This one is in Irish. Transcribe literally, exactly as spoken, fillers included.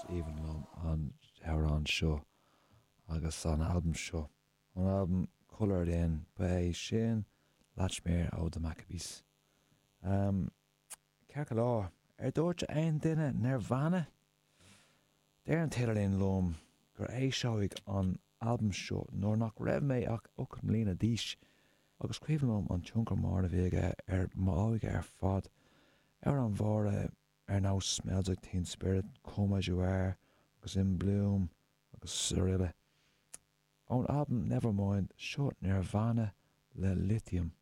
aoibhinn liom an t-amhrán seo agus an albam seo. An albam Coloured In ba é sin Latchmere ó The Maccabees. Um, Ceart go leor, ar dúirt aon duine Nirvana? Deir an t-idirlíon liom gur eisíodh an albam seo nuair nach raibh mé ach ocht mbliana d'aois agus cuimhin liom an tionchar mór a bhí aige ar m'óige ar fad. Amhráin mhóra ar nós Smells Like Teen Spirit, Come As You Are agus In Bloom agus araile. Ón albam Nevermind seo Nirvana le Lithium.